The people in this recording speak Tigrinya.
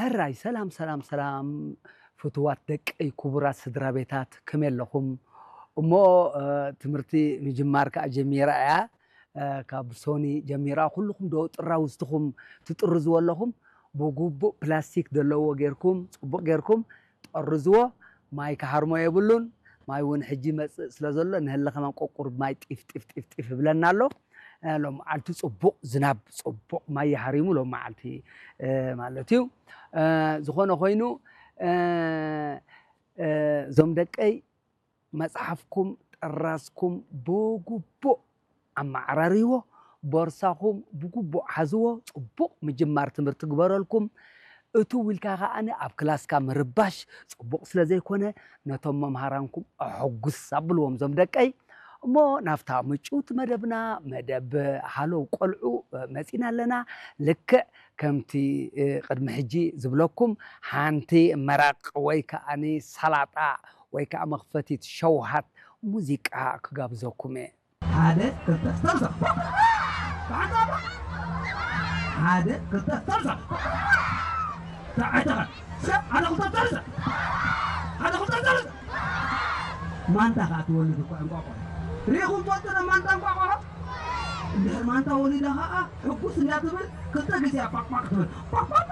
ሕራይ ሰላም ሰላም ሰላም፣ ፍቱዋት ደቀይ፣ ክቡራት ስድራ ቤታት፣ ከመይ ኣለኹም? እሞ ትምህርቲ ምጅማር ከዓ ጀሚራ እያ። ካብ ሶኒ ጀሚራ ኩልኹም ዶ ጥራውዝትኹም ትጥርዝዎ ኣለኹም? ብግቡእ ፕላስቲክ ዘለዎ ጌርኩም፣ ፅቡቕ ጌርኩም ጠርዝዎ። ማይ ክሃርሞ የብሉን። ማይ እውን ሕጂ ይመፅእ ስለ ዘሎ ንህለ ከማን ቆቁር ማይ ጢፍ ጢፍ ጢፍ ጢፍ ይብለና ኣሎ። ሎም መዓልቲ ፅቡቕ ዝናብ፣ ፅቡቕ ማይ ይሃሪሙ ሎም መዓልቲ ማለት እዩ። ዝኾነ ኮይኑ፣ እዞም ደቀይ፣ መፅሓፍኩም ጥራዝኩም ብግቡእ ኣመዓራርይዎ፣ ቦርሳኹም ብግቡእ ሓዝዎ። ፅቡቕ ምጅማር ትምህርቲ ግበረልኩም። እትው ኢልካ ከዓኒ ኣብ ክላስካ ምርባሽ ፅቡቕ ስለ ዘይኮነ፣ ነቶም መምሃራንኩም ኣሐጉስ ኣብልዎም እዞም ደቀይ። እሞ ናብታ ምጭውቲ መደብና፣ መደብ ሃለው ቆልዑ መፂና ኣለና። ልክዕ ከምቲ ቅድሚ ሕጂ ዝብለኩም፣ ሓንቲ መረቕ ወይ ከዓኒ ሰላጣ ወይ ከዓ መኽፈቲት ሸውሃት ሙዚቃ ክጋብዘኩም እየ። ሓደ ክልተ ሰርሰ ብሓንሳብ። ሓደ ክልተ ሰርሰ። ተዓይተኸ ሰብ ሓደ ክልተ ሰርሰ። ሓደ ክልተ ሰርሰ። ማንታ ከዓ ትወልድ እኮ እንቋቋ። ሪኢኹም ትፈልጡ ዶ ማንታ እንቋቋ? እንድሕር ማንታ ወሊዳ ከዓ ሕጉስ እንዳትብል ክልተ ግዜ ፓቅፓቅ ትብል። ፓቅፓቅ።